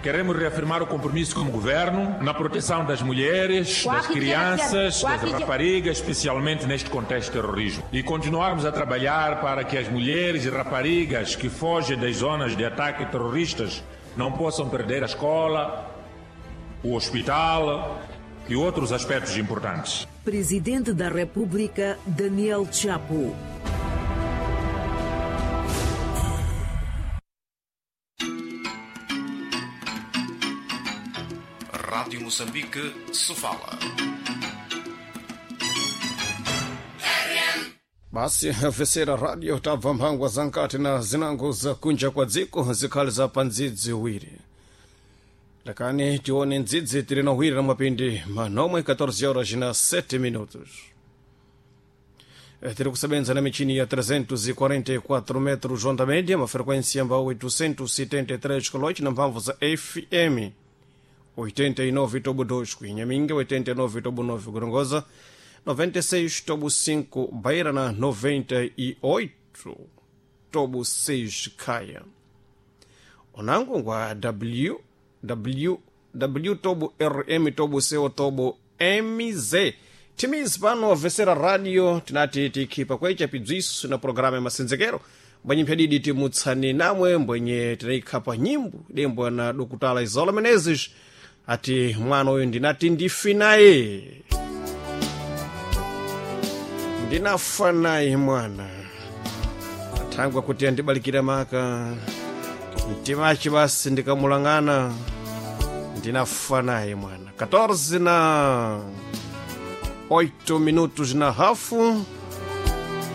Queremos reafirmar o compromisso como governo na proteção das mulheres, das crianças, das raparigas, especialmente neste contexto de terrorismo. E continuarmos a trabalhar para que as mulheres e raparigas que fogem das zonas de ataque terroristas não possam perder a escola, o hospital e outros aspectos importantes. Presidente da República, Daniel Chapo. Rádio Moçambique, Sofala. Basi vesera radio tabva mphangwa za nkati na zinango za kunja kwa dziko zikhali za pandzidzi wiri. Lakani tione ndzidzi tili na wiri na mapindi manomwe 14 horas na 7 minutos. Tiri kusebenza na michini ya 344 metros onda média, uma frequência ambao 873 kHz na mphamvu za FM 89.2 kuinhaminga, 89.9 Gorongosa, 96.5 Beira na 98.6 Caia. Onango ngwa w w w tobo rm tobo co tobo mz timizi pano vesera radio tinati tikhipa kwecha pibziso na programa ya masenzekero mbwenye mphadidi timutsani namwe mbwenye tinaikhapa nyimbo dembo na dokutala Isola Menezes ati mwana uyu ndinati ndifi naye ndinafa naye mwana athangwa kuti andibalikira maka mtimachi basi ndikamulang'ana ndinafa naye mwana 14 na 8 minutos na hafu.